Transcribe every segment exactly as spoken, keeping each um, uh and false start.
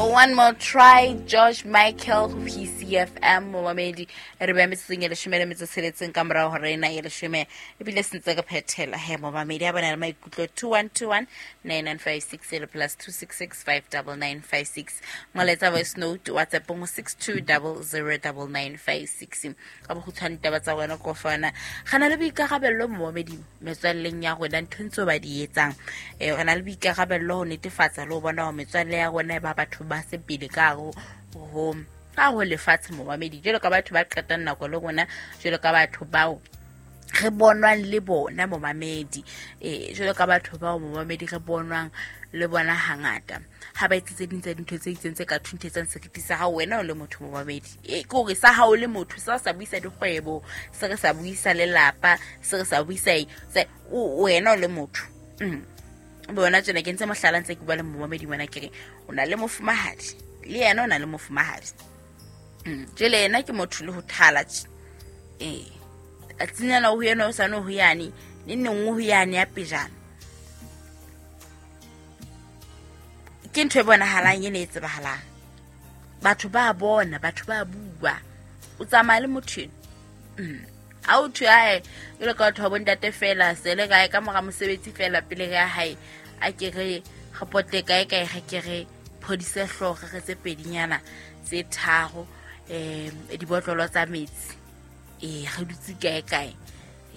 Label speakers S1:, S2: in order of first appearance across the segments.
S1: One More Try, George Michael, P C F M, momamedi re ba metseng e leshome le metso tsheletseng ka morao hore ena e leshome ebile sentse ka phethela he momamedi a bona le maikutlo two one two one nine nine five six le plus two six six five nine nine five six ngoletsa voice note WhatsApp go six two zero zero nine nine five six ka bokgutshwane taba tsa wena go fana gana le boikarabello momamedi metswalleng ya rona ntho ntse ba di etsang eh re na le boikarabello ho netefatsa le ho bona hore metswalle ya rona ba batho ba sepele ka ho ho ka ho lefatshe momamedi jelo ka batho ba qetang nako le rona jelo ka batho bao re bonwang le bona momamedi eh jelo ka batho bao momamedi re bonwang le bona hangata ha ba etse tse ding tsa dintho tse itseng tse ka thunthetsang seriti sa hao wena o le motho momamedi e ke hore sa hao le motho sa sa buisa dikgwebo se re sa buisa lelapa se re sa buisa wena o le motho mm bona tsena ke ntse mohlala ntse ke bua le momamedi wena ke re o na le mofumahadi le yena o na le mofumahadi mm jele yena ke motho le ho thala eh a tsinyana ho yena o sa no ho yane ne nngwe ho yane ya pejana ke ntho e bonahalang ene e tsebahalang batho ba bona batho ba bua o tsamaya le motho mm a o thwe ae jalo ka batho ba bontate fela sele kae ka mora mosebetsi fela pele ya hae a ke re re pote kae kae re ke re phodise hlooho re tse pedinyana tse tharo um dibotlolo tsa metsi eh re dutse kae kae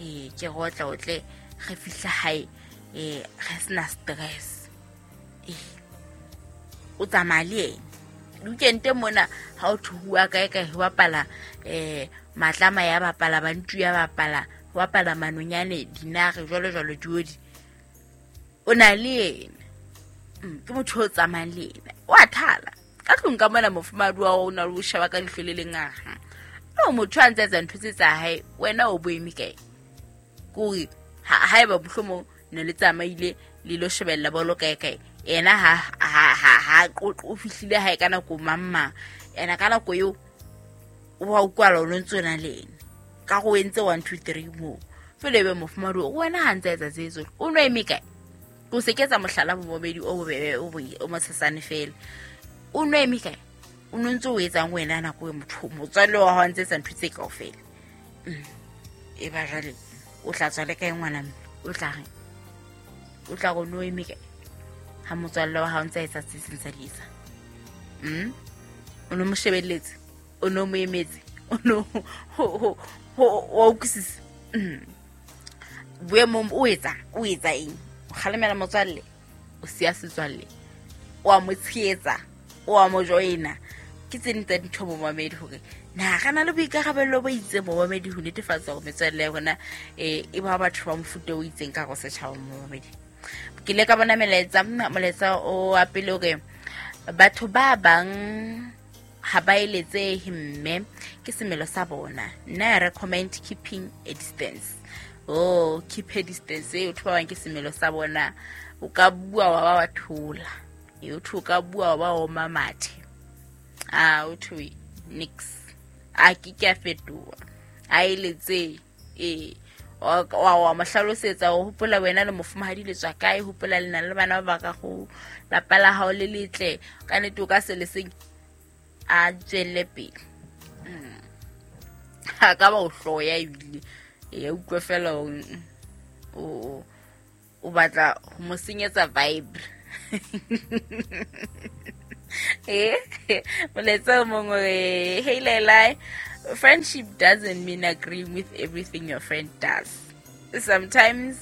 S1: eh ke rotla o tle re fihla hae eh re sena stress eh o tsamaya le ena weekend mona ha o thuwa kae kae ho bapala eh matlama ya bapala bantu ya bapala ho bapala manonyane dinare jwalo jwalo diodi o na le ena ke motho o tsamayang le ena o a thala ka tlung ka mona mofumadi wa o na le o sheba ka leihlo le lengaha no motho a ntse etsa ntho tse tsa hae wena o boeme kae kore haeba mohlomong ne le tsamaile le lo shebella bolo kae kae ena ha ha ha ha o fihlile hae ka nako mamma ena ka nako eo wa ukwala o ntse na le ena ka go entse one two three mo fele be mofumadi o wena ha ntse etsa tse tsohle o no eme kae o se ketsa mohlala bomobedi o bobebe o o motshesane fela o no eme kae o no ntse o etsang wena nako e motho motswalle wa hao ntse etsa ntho tse kaofela e ba jwale o tla tswa le kae ngwana mme o tla reng o tla go no eme kae ha motswalle wa hao ntse etsa tse seng tsa di etsa mm o no mo shebelletse o no mo emetse o no ho ho wa utlwisisa boemong o etsa o etsa eng o kgalemela motswalle o siya setswalle o a mo tshehetsa o a mo joina ke tse ding tsa dintho momamedi hore na re na le boikarabello bo itseng momamedi ho netefatsa hore metswalle ya rona eh e ba batho ba mofuta o itseng ka go setjhaba momamedi ke ile ka bona melaetsa molaetsa o wa pele hore batho ba bang ha ba eletsehe mme ke semelo sa bona nna I recommend keeping a distance oh keep a distance e batho ba bang ke semelo sa bona o ka bua wa ba wa thola e o ka bua wa ba oma mathe ah o thwe nix a ke ke a fetoha a eletse e wa wa mo hlalosetsa o hopola wena le mofumahadi le tswa kae hopola le na le bana ba ka go lapa la hao le letle ka nete o ka se le seng a tswelle pele ha ka ba o hloya ebile e utlwe fela o o batla ho mo senyetsa vibe eh molaetsa o mongwe hey Lelai, friendship doesn't mean agreeing with everything your friend does. Sometimes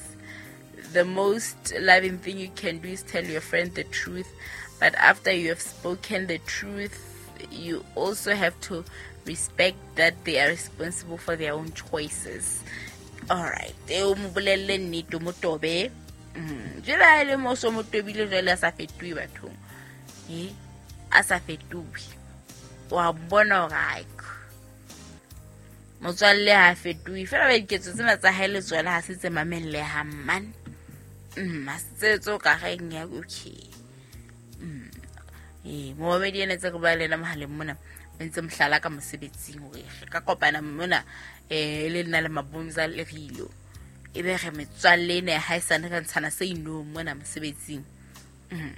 S1: the most loving thing you can do is tell your friend the truth, but after you have spoken the truth, you also have to respect that they are responsible for their own choices. All right. E o mo bolelle nnete mo tobe. Jwale ha ele mo so mo tobile jwale a sa fetohe bathong. Eh? A sa fetohe. Wa bona hore ai motswalle ha fetohe fela ba diketso tsena tsa hae le tsona ha se tse mamellehang man. Mm, ha se tse tso ka reng ya okay. Mm. Eh, momamedi ena tse re bua le yena mohaleng mona o ntse mohlala ka mosebetsing hore re ka kopana mona eh le nna le Mabomza le Rilo e be re metswalle ena ha e sane re ntshana se inong mona mosebetsing. Mm.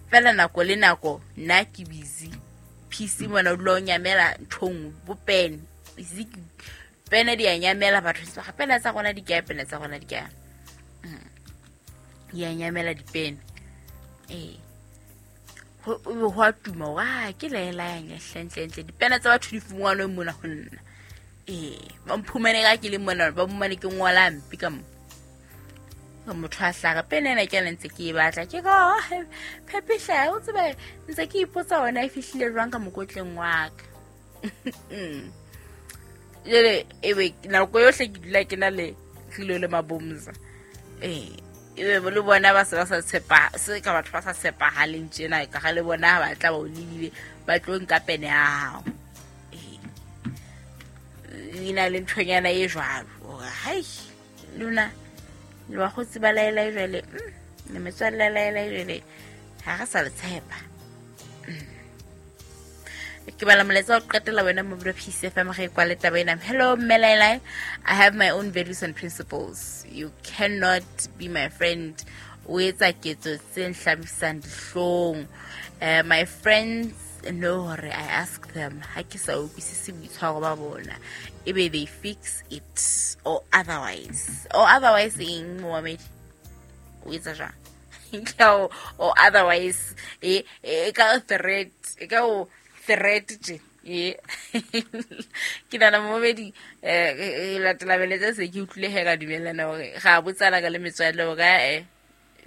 S1: Fela nako le nako nna ke busy. P C mona o dula o nyamela nthong bo pen. Busy pene di a nyamela batho ba pene tsa rona di kae, pene tsa rona di kae. Ya nyamela dipene. Eh. Ho ho a tuma wa ke lela ya ntle ntle dipene tsa batho di fungwanwe mona ho nna. Eh, ba mphumane ka ke le mona ba mmane ke ngola mpi ka mo. Motho a hlaga pene ena ke ntse ke e batla ke go phepihla o tsebe ntse ke ipotsa hona e fihlile jwang ka mokotleng wa ka. Jele ebe nako yohle ke dula ke na le tlilo le mabomza. Eh, ebe le bona ba se ba sa tshepa se ka batho ba sa tshepahaleng tjena ka ga le bona ba tla ba o lebile ba tlo nka pene ya hao. Eh, ina le nthonyana e jwalo hore hai lona le wa go tseba laela jwale le metswalle laela jwale ha re sa le tshepa. Ke bala molaetsa wa qetela wena mo P C F M ge kwa le taba ena. Hello Mmelaela, I have my own values and principles. You cannot be my friend. O etsa ketso tse nhlabisang dihlong. Uh, my friends know hore I ask them ha ke sa utlwisise boitshwaro ba bona, ebe they fix it or otherwise. Or otherwise eng momamedi o etsa jwang? Or otherwise e e ka threat, e ka o threat tje. E ke nana momamedi eh latela beletsa se ke utlwile he ka dumellana hore ga botsala ka le metswalle o ka eh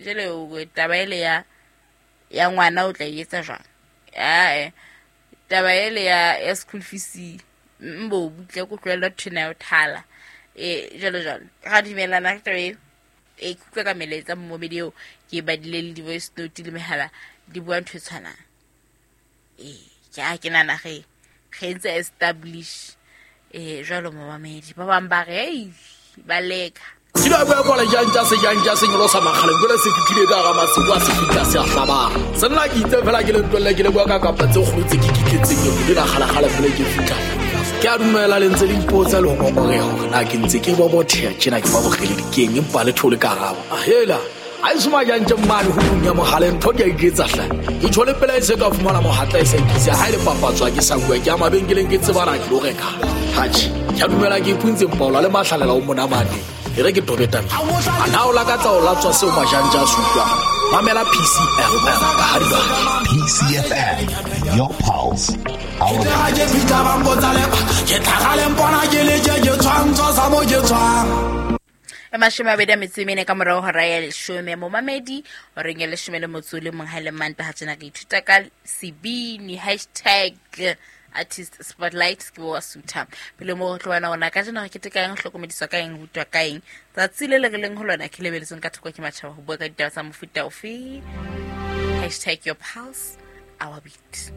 S1: jele o taba ele ya ya ngwana o tla etsa jwang? Ah, taba ele ya ya school fees mbo butle go tlohella thena ya thala e jalo jalo ga dumelana ka taba e e kutlwa ka melaetsa momamedi eo ke badile le di-voice note le mehala di bua ntho e tshwanang. E ke a ke nana ge ge ntse establish eh jalo momamedi ba bang ba re ei ba leka
S2: ke la bua kwa jang se jang se nyolosa makgale jole se fitlile ka ga masibu a se fitla se a hlaba se nna ke itse fela ke le ntwelle ke le bua ka kapa tse kgolo tse ke kitletseng ke la kgala kgala fela ke fitla ke a dumela le ntse le ipotsa le ho ngongoreha hore na ke ntse ke bobotheha tjena ke ba bogele dikeng empa le thole karabo a hela a isuma jang tje mmane ho punya mohaleng ntho ke a iketsa hle ke tshole pela e se ka fumana mohatla e sa ikise ha ile papatswa ke sa bua ke a mabenkeleng ke tsebana ke lo reka hatjhe ke a dumela ke ipuntse mpaola le mahlalela o monamane e re ke tobeta a na o lakatsa o latswa seo majanja a se utlwang mamela P C F M ka ha di
S3: P C F M, your pulse, our
S2: ke fitla ba mpotsa le ke tlhagale mpona ke le ke ke tshwantsho sa mo ke tshwang
S1: e mashome a mabedi a metso e mene ka morao hora ya leshome momamedi horeng ya leshome le motso le mong ha le Mantaha tjena re ithuta ka sebini hashtag artist spotlight ke wa sutha pele mo tlo bana ona ka jena re keteka eng hlokomediswa ka eng rutwa ka eng tsatsi le le re leng ho lona ke lebeletseng ka thoko ke matjhaba ho bua ka ditaba tsa mofuta ofe hashtag your pulse our beat.